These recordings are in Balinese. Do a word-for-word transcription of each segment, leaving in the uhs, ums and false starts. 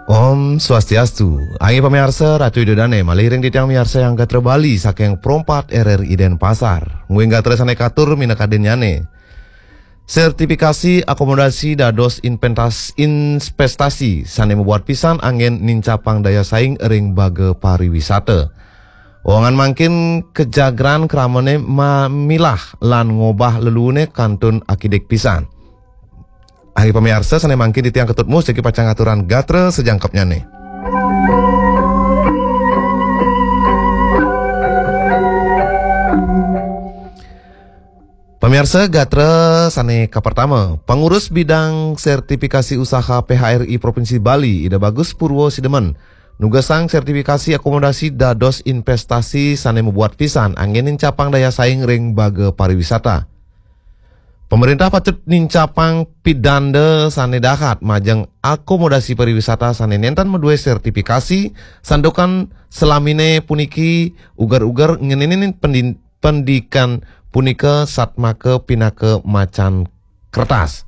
Om Swastiastu. Anggi pamiarsa, Ratu Ida Dane malih ring titiang miarsa yang gatra Bali saking Pro empat R R I Denpasar. Ngwing gatra sane katur minakadinnyane. Sertifikasi akomodasi dados inventas-, investasi sane mabuat pisan anggen nincapang daya saing ring baga pariwisata. Wewangan mangkin kajagran kramane mamilah lan ngobah lelune kantun akidik pisan. Anggi pamiarsa, sane mangkin titiang Ketut Mus jagi pacang aturang gatra sajangkepnyane. Pamiarsa, gatra sane kapertama, Pangurus Bidang Sertifikasi Usaha P H R I Provinsi Bali, Ida Bagus Purwo Sidemen, nugasang sertifikasi akomodasi dados investasi sane mabuat pisan anggen nincapang daya saing ring baga pariwisata. Pemerintah patut nincapang pidanda sane dahat majeng akomodasi pariwisata sane nenten madue sertifikasi, santukan salamine puniki uger-uger ngenenin pendin-, pendidikan punika satmaka pinaka macan kertas.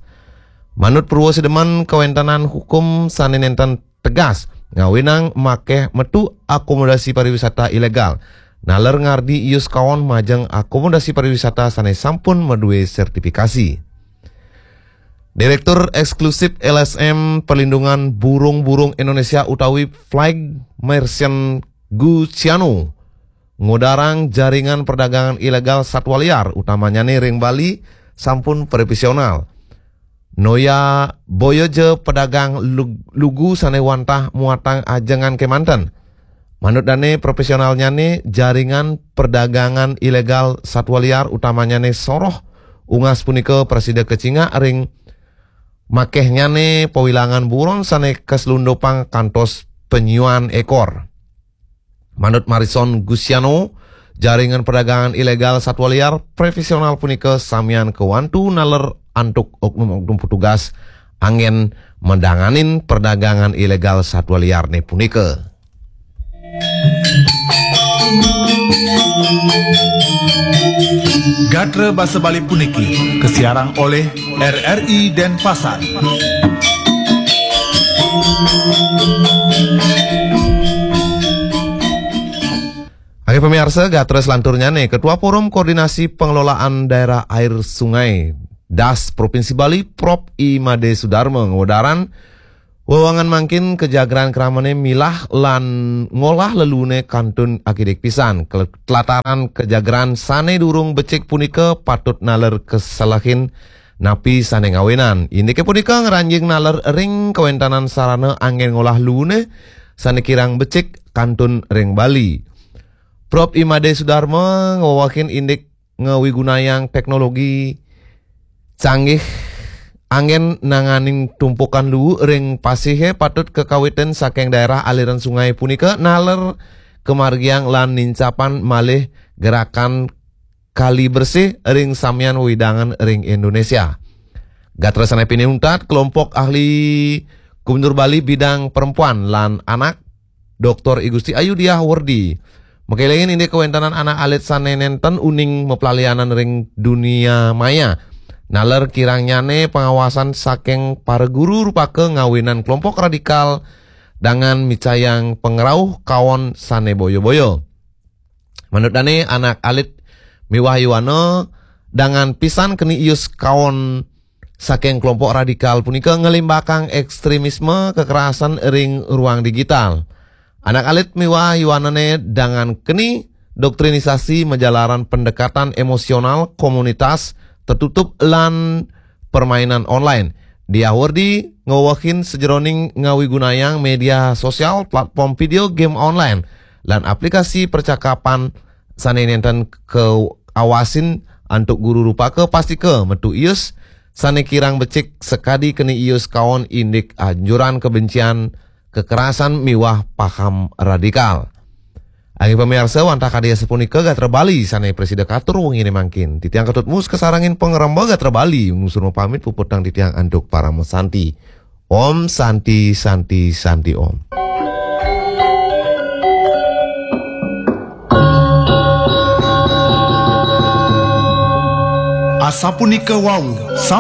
Manut Purwo Sidemen, kawentenan hukum sane nenten tegas ngawinang makeh metu akomodasi pariwisata ilegal, naler ngardi ius kaon majeng akomodasi pariwisata sane sampun madue sertifikasi. Direktur Eksklusif L S M Perlindungan Burung-Burung Indonesia utawi Flag Merchant Guciano ngodarang jaringan perdagangan ilegal satwa liar, utamanyane ring Bali, sampun profesional. Noya boya ja pedagang lug-, lugu sane wantah muatang ajengan kemanten. Manut dane profesionalnyane, jaringan perdagangan ilegal satwa liar utamanyane soroh unggas punika prasida kacingak ring makehnyane pawilangan buron sane kaslundupang kantos panyuan ekor. Manut Marison Gusiano, jaringan perdagangan ilegal satwa liar profesional punika samian kawantu naler antuk oknum-oknum petugas anggen madanganin perdagangan ilegal satwa liarne punika. Gatra basa Bali puniki kasiarang olih R R I Denpasar. Anggi pamiarsa, gatra selanturnyane, Ketua Forum Koordinasi Pengelolaan Daerah Air Sungai, das, Provinsi Bali, Prof I Made Sudarma, ngwedaran wewangan mangkin kajagran kramane milah lan ngolah lelune kantun akidik pisan. Kel-, kelataran kajagran sane durung becik punika patut naler kaselehin napi sane ngawinan. Indike punika ngranjing naler ring kawentanan sarana anggen ngolah lelune sane kirang becik kantun ring Bali. Prof I Made Sudarma ngwewehin indik ngawigunayang teknologi canggih anggen nanganing tumpukan luu ring pasihe patut kakawitin saking daerah aliran sungai punika naler kamargiang lan nincapan malih gerakan kali bersih ring samian wewidangan ring Indonesia. Gatra sane pinih untat, kelompok ahli Gubernur Bali bidang perempuan lan anak, Doktor I Gusti Ayu Diah Werdi, makelingin indik kawentanan anak alit sane nenten uning maplalianan ring dunia maya. Naler kirangnyane pangawasan saking para guru rupaka ngawinan kelompok radikal dangan micayang pangrauh kaon sane boya-boya. Manut dane, anak alit miwah yuana dangan pisan keni ius kaon saking kelompok radikal punika ngelimbakang ekstremisme kekerasan ring ruang digital. Anak alit miwah yuanane dangan keni doktrinisasi majalaran pendekatan emosional komunitas tertutup lan permainan online. Diah Werdi ngwewehin sajeroning ngawigunayang media sosial, platform video game online, lan aplikasi percakapan sane nenten kaawasin antuk guru rupaka pastika metu ius sane kirang becik sakadi keni ius kaon indik anjuran kebencian kekerasan miwah paham radikal. Anggi pamiarsa, wantah kadi asapunika gatra Bali sane prasida katur wengine mangkin. Titiang Ketut Mus kasarengin pangremba gatra Bali, nglungsur mapamit puputang titiang antuk parama santi. Om Santi, Santi, Santi Om. Asapunika wau